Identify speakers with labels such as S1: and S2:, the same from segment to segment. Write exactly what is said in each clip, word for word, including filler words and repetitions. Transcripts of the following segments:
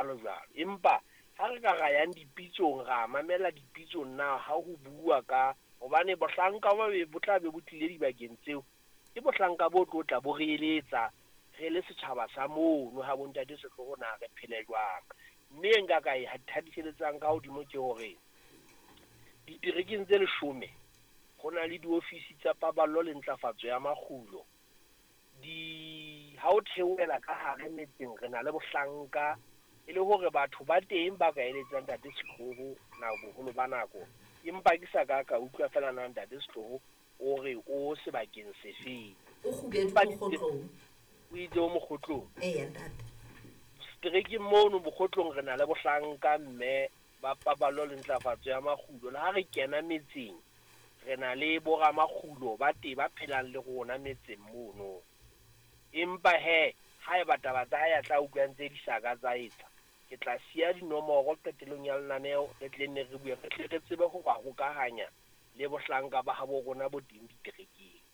S1: Jwalo jwalo. Empa ha re ka ra yang dipitsong, ra mamela dipitsong na ha ho bua ka hobane bohlanka ba be bo tla be bo tlile dibakeng tseo, ke bohlanka bo tlo tla bo re eletsa re le setjhaba sa mono ha bontate Setlogo na re phele jwang. Mme e nka ka e thadiseletsang ka hodimo ke hore diterekeng tse leshome ho na le diofisi tsa paballo le ntlafatso ya makgulo. Di ha o theohela ka hare metseng re na le bohlanka e le hore batho ba teng ba ka eletsang ntate Setlogo na boholo ba nako, empa ke sa ka ka utlwa fela na ntate Setlogo o re o sebakeng sefeng.
S2: O kgubedu mokgotlong.
S1: O itse o mokgotlong.
S2: Eya ntate.
S1: Seterekeng mono bokgotlong re na le bohlanka mme ba paballo le ntlafatso ya makgulo. Le ha re kena metseng re na le boramakgulo ba teng ba phelang le rona metseng mono. Empa he haeba taba tsa hae a tla utlwa ntse di sa ka tsa etsa, ke tla siya dinomoro qetellong ya lenaneo re tle nne re bue, re tle re tsebe ho ba hokahanya le bohlanka ba habo rona bo teng diterekeng.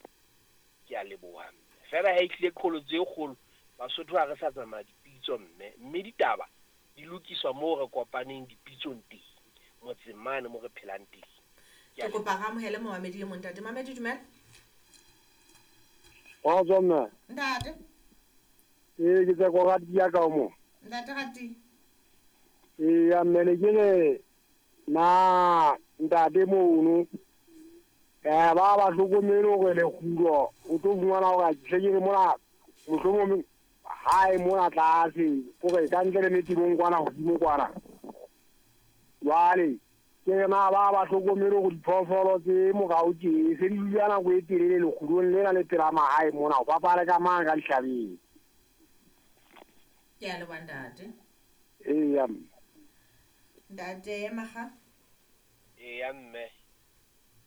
S1: Ke a leboha mme. Fela ha e tlile qholotso e kgolo, Basotho ha re sa tsamaya dipitso mme, mme ditaba di lokiswa moo re kopaneng dipitsong teng, motseng mane mo re phelang teng.
S2: Ke kopa re amohele momamedi e mong ntate. Mamedi dumela.
S3: Kgotso mme.
S2: Ntate.
S3: Ee, ke Tseko Ratia ka mo.
S2: Ntate Ratia.
S3: Ee, mme ne ke re na ntate mono eh ba ba hlokomele hore lekgulo o tlo fumana hore a tle ke re mona mohlomong hae mona tlase hore ka ntle le metibong kwana hodimo kwana. Jwale ke re na ba ba hlokomele hore diphoofolo tse morao tje se di dula nako e telele lekgulong lena le pela mahae mona ho bapala ka mang ka dihlabeng.
S2: Ke a leboha ntate.
S3: Eya mme.
S2: Ntate Maga.
S1: Eya mme.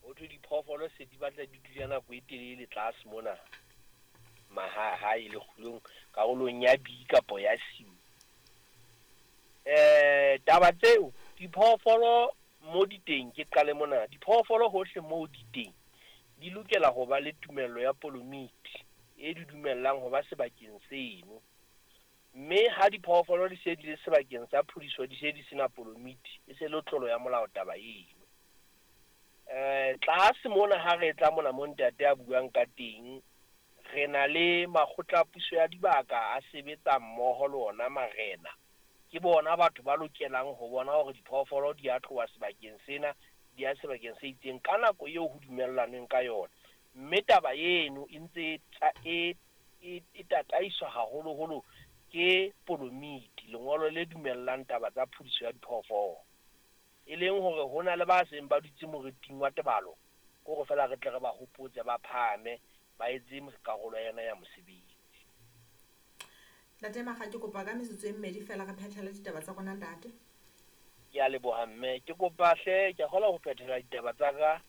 S1: Ho thwe diphoofolo se di batla di dula nako e telele tlase mona mahae lekgulong karolong ya B kapo ya C. Eh taba tseo diphoofolo mo di teng, ke qale mona, diphoofolo hohle mo di teng di lokela ho ba le tumello ya polomiti e di dumellang ho ba sebakeng seno. Mme ha diphoofolo di se di le sebakeng sa phodiso di se di sena polomiti, e se le tlolo ya molao taba eno. Eh tlase mona ha re tla mona mo ntate a buang ka teng, re na le makgotla a puso ya dibaka a sebetsa mmoho le ona marena. Ke bona batho ba lokelang ho bona hore diphoofolo di a tloha sebakeng sena di ya sebakeng se itseng ka nako eo ho dumellanweng ka yona. Mme taba eno e ntse e e e tataiswa haholoholo ke polomiti, lengolo le dumellang taba tsa phodiso ya diphoofolo. E leng hore ho na le ba seng ba dutse moriting wa tebalo, ke hore fela re tle re ba hopotse ba phahame ba etse karolo yena ya mosebetsi.
S2: Ntate Maga, ke kopa ka metsotso e mmedi fela re phethele ditaba tsa rona ntate.
S1: Ke a leboha mme. Ke kopa hle, ke a kgona ho phethela ditaba tsa ka.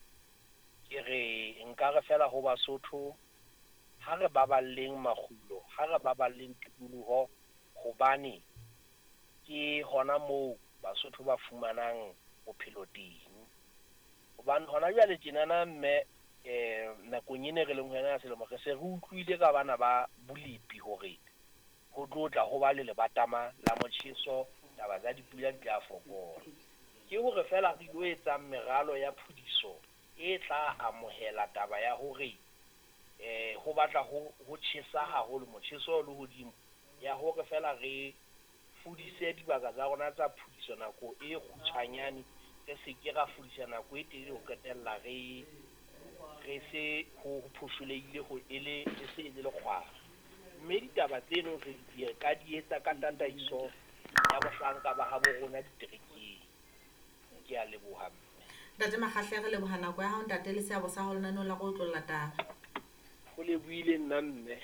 S1: Ke re nka re fela ho Basotho ha re baballeng makgulo, ha re baballeng tikoloho, hobane ke hona moo Basotho ba fumanang bophelo teng. Hobane hona jwale tjenana mme eh nakong ena re leng ho yona ya selemo, re se re utlwile ka bana ba bolepi hore ho tlo tla ho ba le lebatama la motjheso, taba tsa dipula di tla fokola. Ke hore fela re ilo etsang meralo ya phodiso e tla amohela taba ya hore eh ho batla ho ho tjhesa haholo, motjheso o le hodimo, ya hore fela re fudise dibaka tsa rona tsa phodiso nako e kgutshwanyane, re se ke ra fudisa nako e telele ho qetella re re se ho phosholehile ho e le e se e le lekgwara. Mme ditaba tseno re di ka di etsa ka tataiso ya bohlanka ba habo rona diterekeng. Ke a leboha mme.
S2: Ntate Makgahle, re leboha nako ya hao ntate le seabo sa hao lenaneong la go otlolla taba.
S1: Ho lebohile nna mme.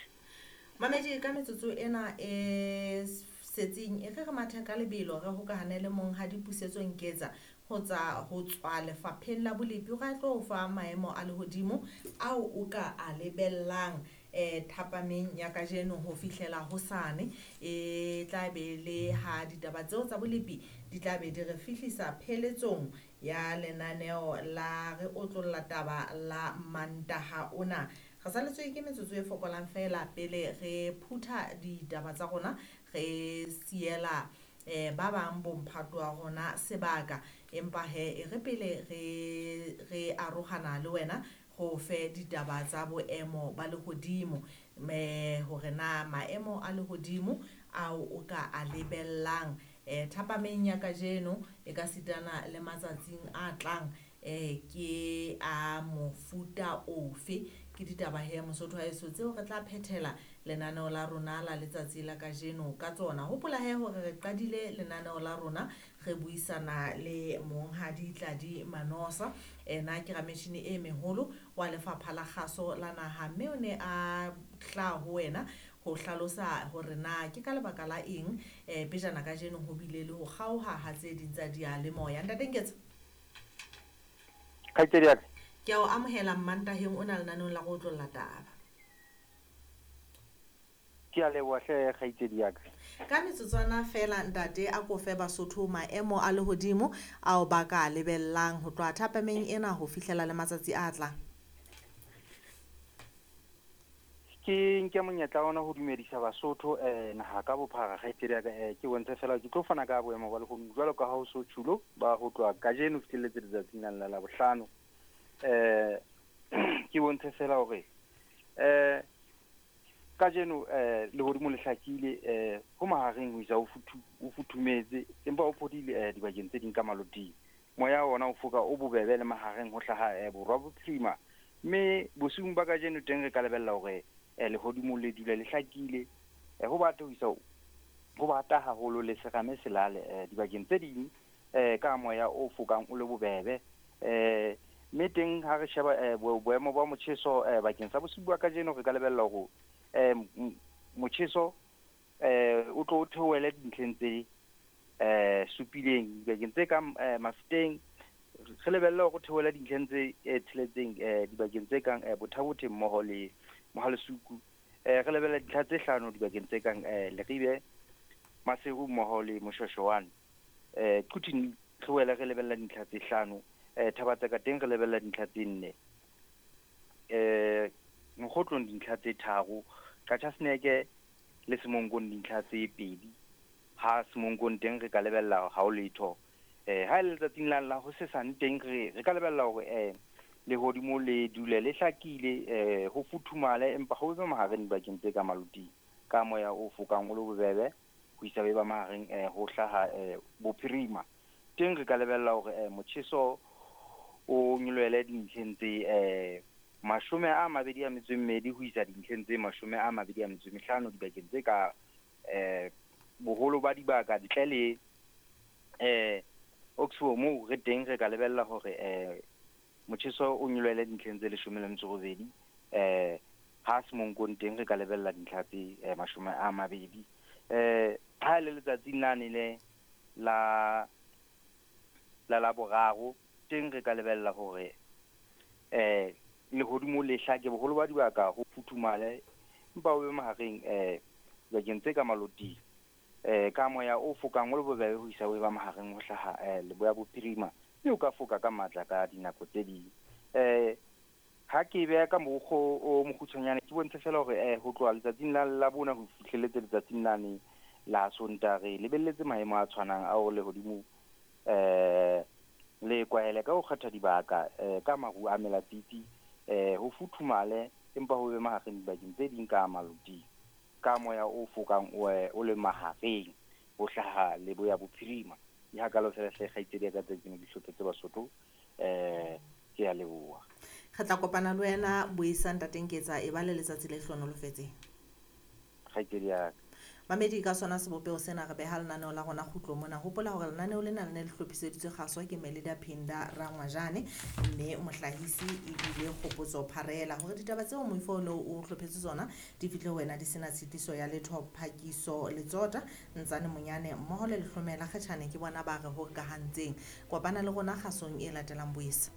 S2: Mamedi, ka metsotso ena e setsing e re re mathe ka lebelo re hokahane le monghadi Pusetso Nketsa ho tsa ho tswa lefapheng la bolepi, o re tlo fa maemo a lehodimo ao o ka a lebellang eh thapameng ya kajeno ho fihlela hosane. E tla be le ha ditaba tseo tsa bolepi di tla be di re fihlisa pheletsong ya lenaneo la re otlolla taba la Mantaha ona. Re saletswe ke metsotso e fokolang fela pele re phutha ditaba tsa rona, re siela eh ba bang bomphato wa rona sebaka. Empa he e re pele re re arohana le wena go fe ditaba tsa boemo ba lehodimo, me hore na maemo a lehodimo ao o ka a lebellang eh thapameng ya kajeno e ka sitana le matsatsing a tlang eh ke a mofuta ofe. Ke ditaba he Mosotho wa heso tseo re tla phethela lenaneo la rona la letsatsi la kajeno ka tsona. Hopola he hore re qadile lenaneo la rona re buisana le Monghadi Tladi Manosa, ena ke rametjhini e meholo wa lefapha la kgaso la naha, mme o ne a tla ho wena ho hlalosa hore na ke ka lebaka la eng eh pejana kajeno ho bile le ho kgaoha ha tse ding tsa diyalemoya. Ntate Nketsa,
S4: kgaitsedi ya ka,
S2: ke a o amohela Mmantaheng o na lenaneong la go otlolla taba.
S4: Ke a leboha hle kgaitsedi ya ka.
S2: Ka metsotswana fela ntate, a kofe Basotho maemo a lehodimo ao ba ka lebellang ho tloha thapameng ena ho fihlela le matsatsi a tlang.
S4: Ke nke monyetla ona ho dumedisa Basotho eh naha ka bophara kgaitsedi ya ka. Eh ke bontshe fela ke tlo fana ka boemo ba lehodimo jwalo ka ha ho so tjhulo ba ho tloha kajeno fihlelletse letsatsing la la bohlano. Eh ke bontshe fela hore eh kajeno eh lehodimo le hlakile eh ho mahareng ho isa ho futhumetse, empa o phodile eh dibakeng tse ding ka maloting. Moya ona o foka o bobebe le mahareng ho hlaha eh borwa bophirima, mme bosiung ba kajeno teng re ka lebella hore eh lehodimo le dule le hlakile eh ho bata ho isa ho bata haholo le serame selale eh dibakeng tse ding eh ka moya o fokang o le bobebe. Eh mme teng ha re sheba eh boemo ba motjheso eh bakeng sa bosiu ba kajeno re ka lebella hore eh motjheso eh o tlo theohele dintlheng tse eh supileng dibakeng tse kang Mafeteng. Re lebella hore theohele dintlheng tse tsheletseng eh dibakeng tse kang Bothabothe mmoho le Mohalesuku. Eh re lebella dintlha tse hlano dibakeng tse kang Leribe, Maseru mmoho le Moshoshoane. Eh Quthing re wela re lebella dintlha tse hlano. Eh Thabatseka teng re lebella dintlha tse nne. Eh Mokgotlong dintlha tse tharo, Qachaseneke le Semonkong dintlha tse pedi. Ha Semonkong teng re ka lebella ha o letho. Eh ha le letsatsing la la ho sesane teng re re ka lebella hore eh lehodimo le dule le hlakile eh ho futhumale, empa ho be mahareng dibakeng tse ka maloting ka moya o fokang o le bobebe ho isa ba mahareng eh ho hlaha eh bophirima. Teng re ka lebella hore eh motjheso o nyolohele dintlheng tse eh mashome a mabedi a metso e mmedi ho isa dintlheng tse mashome a mabedi a metso e mehlano dibakeng tse ka eh boholo ba dibaka ntle le eh Oxford moo re teng re ka lebella hore eh motjheso o nyolohele dintlheng tse leshome le metso robedi. Eh ha Semonkong teng re ka lebella dintlha tse mashome a mabedi. Eh ha le letsatsing lane le la la la boraro teng re ka lebella hore eh lehodimo le hlake boholo ba dibaka ho futhumale, empa o be mahareng eh dibakeng tse ka maloting eh ka moya o fokang o le bobebe ho isa o ba mahareng ho hlaha eh leboya bophirima, mme o ka foka ka matla ka dinako tse ding. Eh ha ke beha ka mokgo o mokgutshwanyane ke bontshe fela hore eh ho tloha letsatsing la la bona ho fihlelletse letsatsing lane la Sontaha re lebelletse maemo a tshwanang ao lehodimo eh le kwahele ka ho kgetha dibaka eh ka maru a melatiti eh ho futhumale, empa ho be mahareng dibakeng tse ding ka maloting ka moya o fokang o o le mahareng ho hlaha leboya bophirima. Di hakalo fela hle kgaitsedi ya ka tse ke di hlophetse Basotho. Eh ke a leboha.
S2: Re tla kopana le wena buisang Ntate Nketsa, e ba le letsatsi le hlohonolofetseng.
S4: Kgaitsedi ya ka.
S2: Mamedi, ka sona sebopeho sena re beha lenaneo la rona kgutlo mona. Hopola hore lenaneo lena le ne le hlophiseditswe kgaso ke Melida Phinda Rangwajane, mme mohlahisi ebile Kgopotso Pharela. Hore ditaba tseo moifo o ne o hlophetse tsona di fihle ho wena di sena tshitiso ya letho, Phakiso Letsota, Ntsane Monyane mmoho le Lehlomela Kgetjhane ke bona ba re hokahantseng. Kopana le rona kgasong e latelang. Boisa.